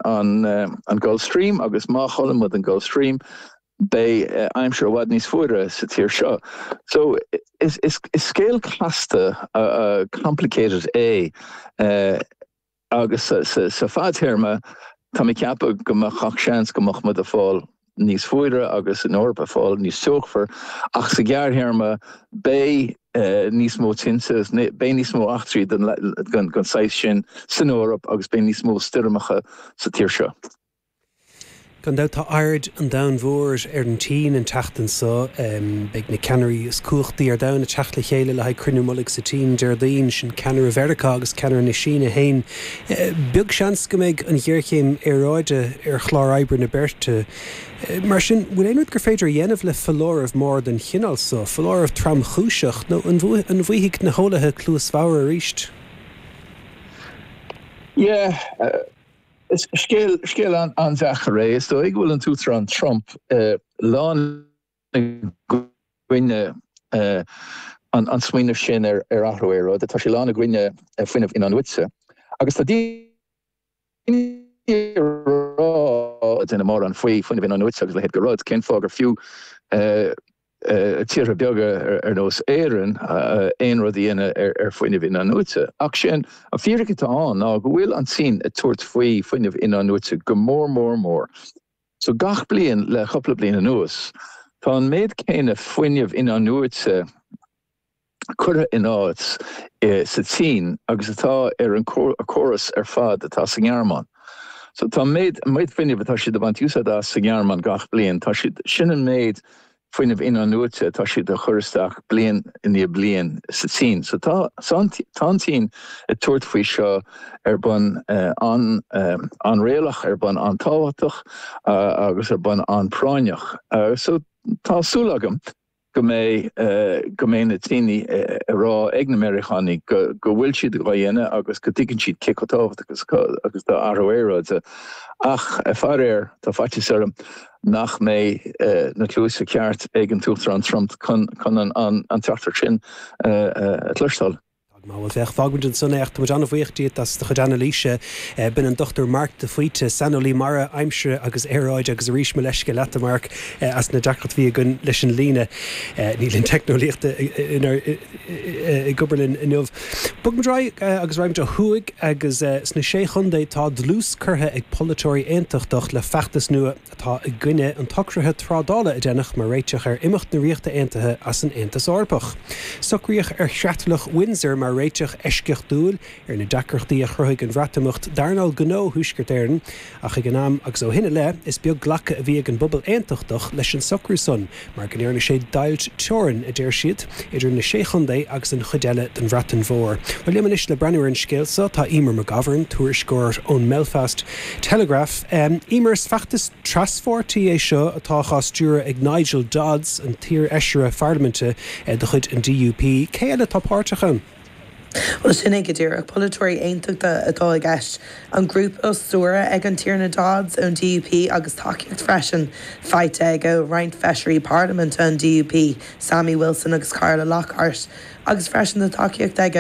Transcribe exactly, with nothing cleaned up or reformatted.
an, an Gulf Stream agus má chailleann muid an Gulf Stream beidh aimsir i bhfad níos fuaire sa tír seo. So is, is, is scéal casta uh, complicated é uh, agus sa, sa, sa fadtéarma tá mé ag ceapadh go mbeadh gach seans go mbeadh muid ag fáil níos fuaire agus an Eoraip ag fáil níos teochmhar ach sa ghearrthéarma beidh uh, níos mó tinte beidh níos mó eachtraí den, den, den saghas sin san Eoraip agus beidh níos mó stoirmeacha sa tír seo. Gan dabht tá aird an domhain mhóir ar an tSín an tseachtain seo beidh na ceannairí is cumhachtaí ar domhan ag teacht le chéile le haghaidh cruinniú mullaigh sa tSín Déardaoin sin ceannaire Mheiriceá agus ceannaire na Síne féin. Beag seans go mbeidh an ghéarchéim aeráide ar chlár oibre na beirte. Mar sin bhfuil aon rud gur féidir a dhéanamh le foláireamh mór den chineál seo, foláireamh tromchúiseach nó an bhfaighidh na heolaithe cluas bhodhar arís? Yeah, uh... Is scéal scéal an an-deacair é is dóigh go bhfuil an tUachtarán Trump uh, lán i gcoinne uh, an, an smaoineamh sin ar ar athrú aeráide, tá sé lán i gcoinne uh, fuinneamh in-athnuaite. Agus tá rá duine mór an faoi fuinneamh in-athnuaite agus le go rud cén fáth gur fiú uh, tíortha beaga ar nós Éireann aon rud a dhéanamh ar fuinneamh in-athnuaite. Ach sin an fíric atá ann ná go bhfuil an tSín ag tabhairt faoi fuinneamh in-athnuaite go mór mór mór. So gach bliain le cúpla bliain anuas, Tá an méid céanna fuinneamh in-athnuaite curtha in áit sa tSín agus atá ar an córas ar fad atá sa nGearmáin. So tá méid méid fuinneamh atá siad ag baint úsáid as sa nGearmáin gach bliain, tá siad sin an méid fuinneamh in-athnuaite tá siad a chur isteach bliain i ndiaidh bliain sa tSín. So tá tá an tSín ag tabhairt faoi seo ar bhonn uh, an uh, an-réalaíoch ar bhonn an-tábhachtach uh, agus ar bhonn an-phráinneach. Uh, so tá súil agam go mbeidh uh, go mbeidh na daoine uh, ag rá ag na Meiriceánaigh go go bhfuil siad á dhéanamh agus go dtuigeann siad cé chomh tábhachtach agus agus tá athrú aeráide. Ach faraor tá faitíos orm nach mbeidh uh, na cluasa ceart ag an tUachtarán Trump chun chun an, an, an teachtaireacht sin uh, uh, a chloisteáil. Má bhfuil féach fágfaimid ansin é tá an-bhuíoch díot as do chuid anailíse b'in an Dochtúir Mark de Faoite saineolaí mara aimsire agus aeráide agus arís mo leithscéal leat Mark as na deacrachtaí a bhí againn leis an líne níl an teicneolaíocht ag obair linn inniu. Bogfaimid ar aghaidh agus raghaimid ó thuaidh agus sna sé chontae tá dlús curtha ag polaiteoirí aontachtach le feachtas nua atá i gcoinne an tsocraithe trádála a déanadh mar réiteach ar imeacht na Ríochta Aontaithe as an Aontas Eorpach. Socraíodh ar Chreatlach Windsor mar réiteach eisceachtúil ar na deacrachtaí a chruthaigh an Bhreatimeacht d'earnáil gnó Thuaisceart Éireann, ach ag an am agus ó shin i leith is beag glacadh a bhí ag an bpobal aontachtach leis an socrú san, mar go ndearna sé deighilt teorann a deir siad idir na sé chontae agus an chuid eile den Bhreatain Mhór. Well liom anois le breathnú ar an scéal seo tá Emer McGovern, tuairisceoir ón mBelfast Telegraph. Um, Emer is feachtas traspháirtí é seo atá á stiúradh ag Nigel Dodds an t-iarfheisire pharlaiminte eh, de chuid an D U P. Cé eile atá páirteach ann? Well sin é go díreach polaiteoirí aontachtacha atá i gceist an grúpa á stiúradh ag an Tiarna Dodds ón D U P agus tacaíocht freisin faighte ag roinnt feisirí parlaiminte an D U P, Sammy Wilson agus Carla Lockhart, agus freisin na tacaíocht aige